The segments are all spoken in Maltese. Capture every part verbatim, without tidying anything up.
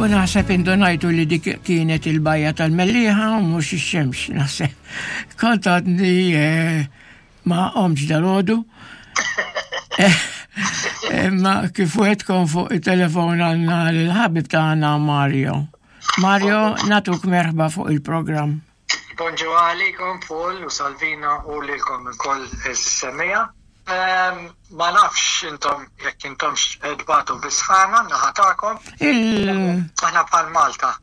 U naħseb indunajtu li dik kienet il-bajja tal-Mellieħa u mhux ix-xemx, naħseb. Kont għadni eh, ma qomtx dalgħodu. Ma kif wegħedtkom fuq il-telefon għandna l-ħabib tagħna Mario. Mario, nagħtuk merħba fuq il-programm. Bonġu għalikom, Paul u Salvina, u lilkom ukoll is-semmiegħa. Ma nafx intom jekk intomx tbatu bis-sħana naħa tagħkom. Il... Aħna bħal Malta.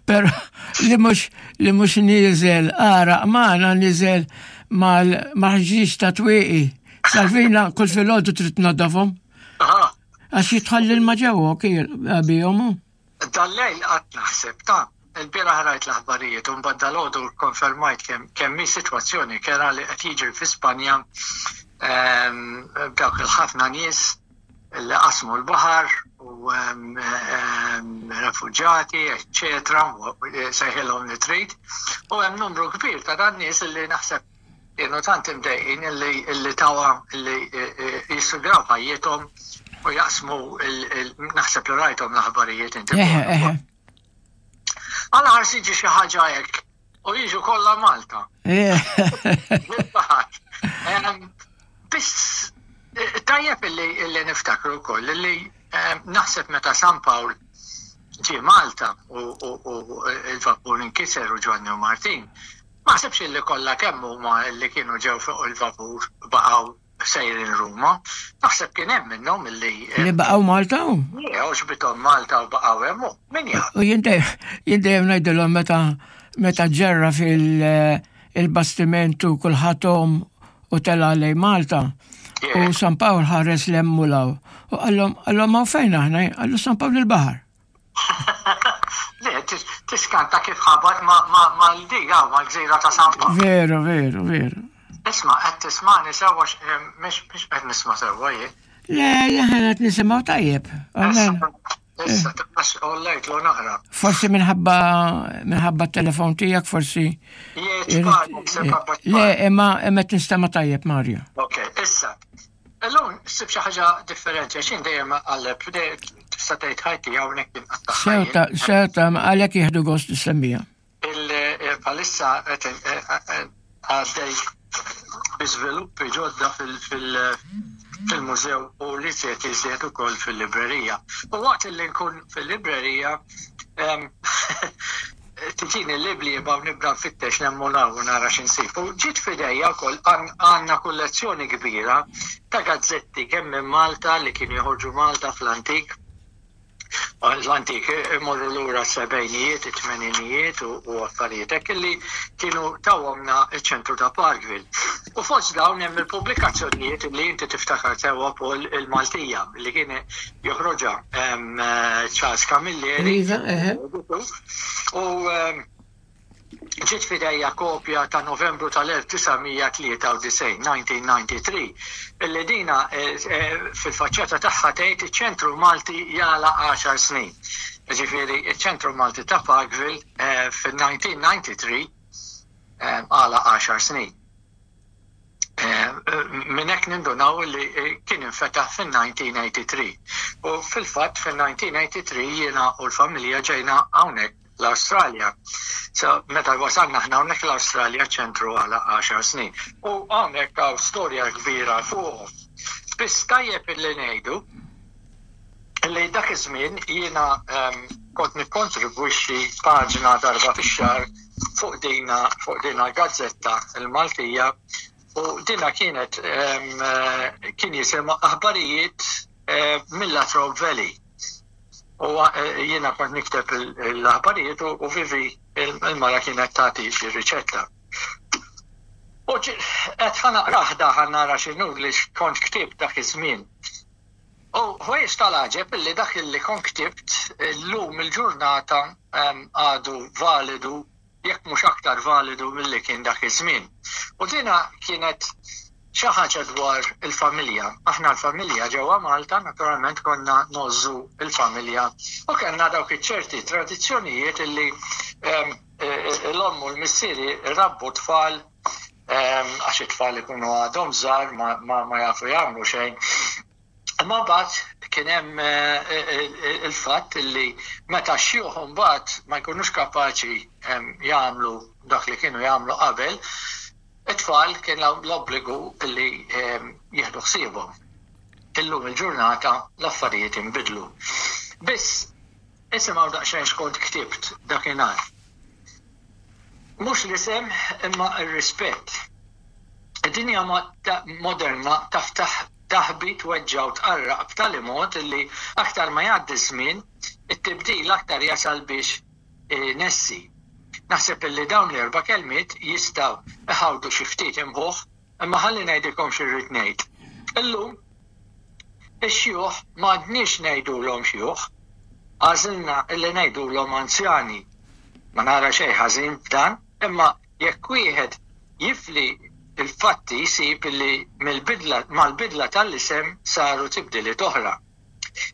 Pero li mhux li mhux niżel għaraq magħna, niżel mal-ħġieġ ta' twieqi. Salvina kull filgħodu trid tnaddafhom. Għax jidħol l-ilma ġewwa bihom. Dal-lejl qatt naħseb ta' il-bieraħ rajt l-aħbarijiet u mbagħad dalgħodu konfermajt kemm kemm hi sitwazzjoni kerha li qed jiġri fi Spanja b'dawk il-ħafna nies li qasmu l-baħar u refuġjati, eċċetera, sejħilhom li trid. U hemm numru kbir ta' dan nies li naħseb kienu tant imdejqin illi illi tawa illi jissugraw ħajjithom u jaqsmu, naħseb li rajthom l-aħbarijiet inti. Għala ħars jiġi xi ħaġa hekk u jiġu kollha Malta. Biss tajjeb illi illi niftakru wkoll illi naħseb meta San Pawl ġie Malta u il-vapur inkiser u Ġwanni u Martin, ma ħsibx illi kollha kemm huma illi kienu ġew fuq il-vapur baqgħu sejrin Ruma. Naħseb kien hemm minnhom illi Li baqgħu Malta? Għoġbithom Malta u baqgħu hemm, min jaf. U jien dejjem ngħidilhom meta meta ġerra fil-bastiment u kulħadd u tela lejn Malta. U San Pawl ħares 'l hemm u 'l hawn. U qallhom qallhom hawn fejn aħna? Qallu San Pawl il-baħar. Le, tiskanta kif ħabat mal-diga, mal-gżira ta' San Pawl. Veru, veru, veru. Isma', qed tismani sewwa? Mhux qed nisma' sewwa jien. Le, aħna qed nisimgħu tajjeb. Issa, tibqax ollejt lo naqra. Forsi minħabba minħabba t-telefon tiegħek forsi. Le, imma imma tinstema' tajjeb, Mario. Ok, issa. Illum ssib xi ħaġa differenti għax jien dejjem għalleb, tista' tgħid ħajti hawnhekk inqatta'. Sewta, sewta, għalhekk jieħdu gost is-semmiegħa. Il-palissa għaddej bi żviluppi ġodda fil-mużew u li se iżjed ukoll fil-librerija. U waqt li nkun fil-librerija tiġini l-liblieba u nibda nfittex nemmunaw u nara x'insib. U ġiet f'idejja wkoll, għandna kollezzjoni kbira ta' gazzetti kemm minn Malta li kienu joħorġu Malta fl-antik. L-antik imorru lura s-sebgħinijiet, it-tmeninijiet u affarijiet hekk illi kienu tawhomna iċ-ċentru ta' Parkville. U fost dawn hemm il-pubblikazzjonijiet li inti tiftakar sewwa, Paul, il-Maltija li kien joħroġha Charles Camilleri. Iva, eħe. U ġiet f'idejja kopja ta' Novembru tal-elf disa' mija tlieta u disgħin, elf disa' mija disgħa u tnejn, illi dina eh, eh, fil-faċċata tagħha tgħid "Iċ-Ċentru Malti jagħlaq għaxar snin". Ġifieri, iċ-Ċentru Malti ta' Parkville eh, fil-elf disa' mija disgħa u tnejn għalaq għaxar snin. Minn hekk nindunaw li kien infetaħ fil-elf disa' mija tmienja u tmenin. U fil-fatt fil-elf disa' mija tmienja u tmenin jiena u l-familja ġejna hawnhekk l-Awstralja. So, meta wasalna aħna hawnhekk l-Awstralja, ċentru għalaq għaxar snin. U hawnhekk hawn storja kbira fuqhom. Biss tajjeb illi ngħidu li dak iż-żmien jiena um, kont nikkontribwixxi paġna darba fix-xahar fuq dina fuq dina gazzetta il-Maltija u dina kienet um, kien jisimha "Aħbarijiet uh, mill-Latrobe Valley". U eh, jiena kont nikteb l-aħbarijiet u Vivi il-mara kienet tagħti xi riċetta. U qed ħa naqrah da, ħa nara x'inhu li kont ktibt dak iż-żmien. U ħwejjeġ tal-għaġeb illi dak illi kont ktibt illum il-ġurnata għadu validu, jekk mhux aktar validu milli kien dak iż-żmien. U dina kienet xi ħaġa dwar il-familja. Aħna l-familja ġewwa Malta naturalment konna ngħożżu il-familja u kellna dawk iċ-ċerti tradizzjonijiet illi l-omm u l-missieri rabbu tfal, għax it-tfal ikunu għadhom żgħar, ma jafu jagħmlu xejn. Imma mbagħad kien hemm il-fatt li meta x-xjuħ mbagħad ma jkunux kapaċi jagħmlu dak li kienu jagħmlu qabel, it-tfal kien l-obbligu li jieħdu ħsiebhom. Illum il-ġurnata l-affarijiet inbidlu. Biss, isimgħu daqsxejn x'kont ktibt dakinhar. Mhux l-isem imma r-rispett. Id-dinja moderna taf taħbi, tweġġa' u tqarraq b'tali mod li aktar ma jgħaddi ż-żmien, it-tibdil aktar jasal biex inessi. Naħseb illi dawn l-erba' kelmiet jistgħu iħawdu xi ftit imħuħ, imma ħalli ngħidilkom xi rrid ngħid. Illum ix-xjuħ m'għadniex ngħidulhom xjuħ, għażilna illi ngħidulhom anzjani. Ma nara xejn ħażin f'dan, imma jekk wieħed jifli il-fatti jsib li mill-bidla mal-bidla tal-isem saru tibdiliet oħra.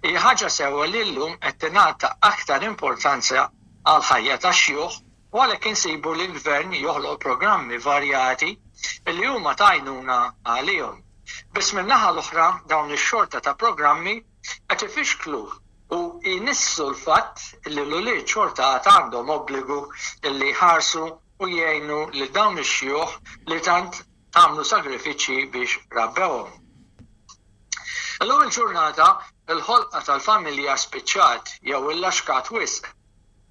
Hija ħaġa sewwa li llum qed tingħata aktar importanza għall-ħajja tax-xjuħ u għalhekk insibu li l-gvern joħloq programmi varjati li huma ta' għajnuna għalihom. Biss min-naħa l-oħra dawn ix-xorta ta' programmi qed ifixklu u jnissu l-fatt li l-ulied xorta għad għandhom obbligu li jħarsu u jgħinu lil dawn ix-xjuħ li tant għamlu sagrifiċċji biex rabbewhom. Illum il-ġurnata il-ħolqa tal-familja spiċċat jew illaxkat wisq.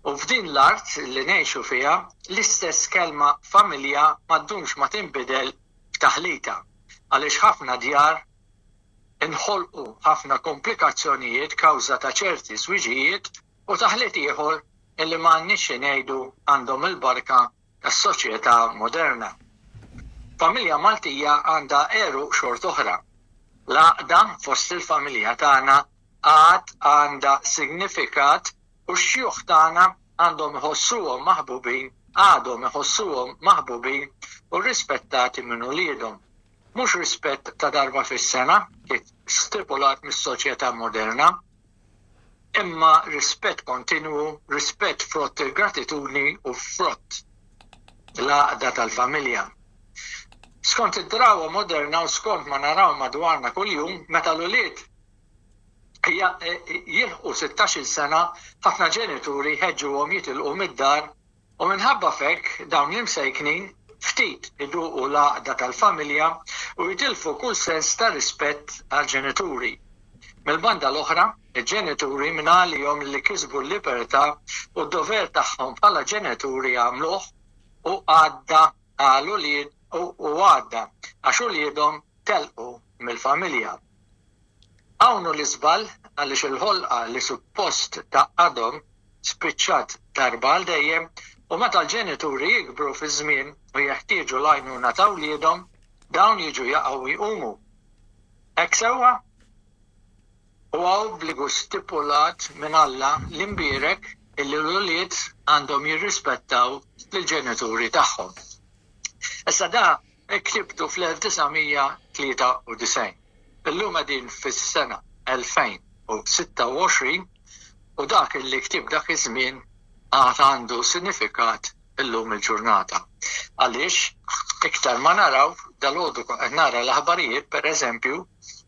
U f'din l-art li ngħixu fiha, l-istess kelma familja ma ddumx ma tinbidel f'taħlita, għaliex ħafna djar inħolqu ħafna komplikazzjonijiet kawża ta' ċerti żwiġijiet u taħlit ieħor illi ma għandniex xi ngħidu għandhom il-barka tas-soċjetà moderna. Familja Maltija għandha għeruq xort'oħra. L-għaqda fost il-familja tagħna għad għandha signifikat u x-xjuħ tagħna għandhom iħossuhom maħbubin, għadhom iħossuhom maħbubin u rispettati minn uliedhom. Mhux rispett ta' darba fis-sena, kif stipulat mis-soċjetà moderna, imma rispett kontinwu, rispett frott il-gratitudni u frott l-għaqda tal-familja. Skont id-drawwa moderna u skont ma naraw madwarna kuljum, meta l-ulied jilħqu sittax-il sena, ħafna ġenituri jħeġġuhom jitilqu mid-dar u minħabba f'hekk dawn l-imsejknin ftit iduqu l-għaqda tal-familja u jitilfu kull sens ta' rispett għall-ġenituri. Mill-banda l-oħra, il-ġenituri minn għalihom li kisbu l-libertà u d-dover tagħhom bħala ġenituri għamluh u għadda għal ulied u għadda għax uliedhom telqu mill-familja. Hawn hu l-iżball għaliex il-ħolqa li suppost tgħaqqadhom spiċċat darba għal dejjem u meta l-ġenituri jikbru fiż-żmien u jeħtieġu l-għajnuna ta' wliedhom, dawn jiġu jaqgħu jqumu. Hekk sewwa? Huwa obbligu stipulat minn Alla l-imbierek illi l-ulied għandhom jirrispettaw lill-ġenituri tagħhom. Issa da ktibtu fl-elf disa' mija tlieta u disgħin. Illum qegħdin fis-sena elfejn u sitta u għoxrin u dak illi ktib dak iż-żmien għad għandu sinifikat illum il-ġurnata. Għaliex iktar ma naraw dalgħodu kont qed nara l-aħbarijiet pereżempju,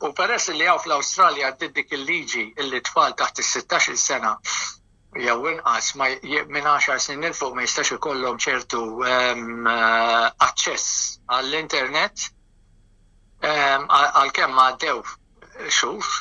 u peress li hawn fl-Awstralja għaddiet dik il-liġi illi tfal taħt is-sittax-il sena jew inqas ma minn għaxar snin 'il fuq ma jistax ikollhom ċertu aċċess għall-internet, għalkemm għaddew xhur